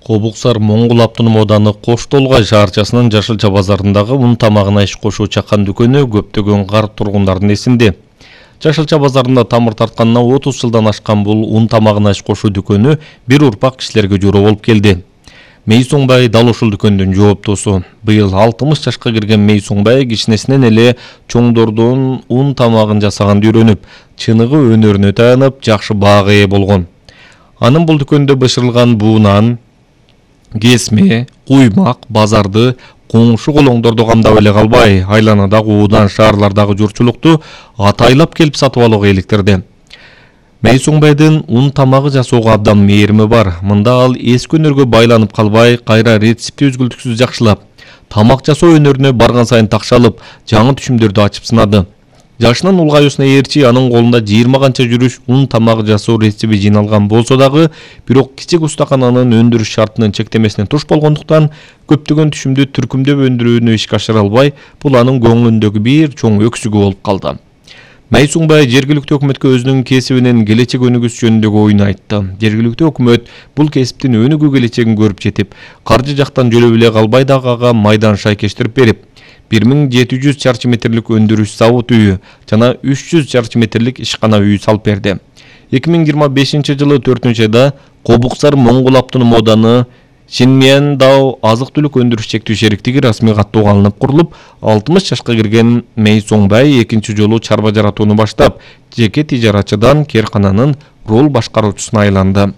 Кобуксар Моңгол автоном ооданы Кош Толгай шаарчасынын Жашылча базарындагы ун тамагына иш кошуу чакан дүкөнү көптөгөн карт тургундардын эсинде. Жашылча базарында тамыр тартканына 30 жылдан ашкан бул ун тамагына иш кошуу дүкөнү бир урпак кишилерге журоо болуп келди. Мейсоңбай дал ушул дүкөндүн жооптосу. Быйыл 60 жашка кирген Мейсоңбай кичинесинен эле чоңдордун ун тамагын жасаганды үйрөнүп, чыныгы өнөрүнө таянып, жакшы баага ээ болгон. Анын бул дүкөндө бышырылган буунан кесме, куймак, базарды, коңшу колоңдорду камдап эле калбай, айланадагы уудан шаарлардагы журчулукту атайлап келип сатып алууга иликтирди. Мейсоңбайдын ун тамагы жасоого абдан мээрими бар. Мында ал эски өнөргө байланып калбай, кайра рецепти үзгүлтүксүз жакшылап, тамак жасоо өнөрүнө барган сайын такшалып, жаңы түшүмдөрдү ачып сынады. Жашынын улгаюусуна ээрчи анын колунда 20 канча жүрүш ун тамак жасоо рецепти жиналган болсо дагы, бирок кичик устакананын өндүрүш шартынын чектемесине туш болгондуктан көптөгөн түшүмдү түркүмдөп өндүрүүнү ишке ашыра албай, бул анын көңүлүндөгү бир чоң өксүгү болуп калды. Мейсоңбай жергиликтүү өкмөткө өзүнүн кесибинин келечек өнүгүшү жөнүндөгү оюн айтты. Жергиликтүү өкмөт бул кесиптин өнүгүү келечегин көрүп жетип, каржы жактан жөлөп эле калбай дагы ага майдан шайкештирип берип, 1700 чарчы метрлик өндүрүш завод үйү жана 300 чарчы метрлик ишкана үйү салып берди. 2025 жылы 4-айда Кобуксар Моңгол автоном ооданы Шинмиандау азык-түлүк өндүрүш чектүү шериктиги расмий каттоого алынып курулуп, 60 жашка кирген Мейсоңбай экинчи жолу чарба жаратууну баштап, жеке тижаратчыдан кээркананын рол башкаруучусуна айланды.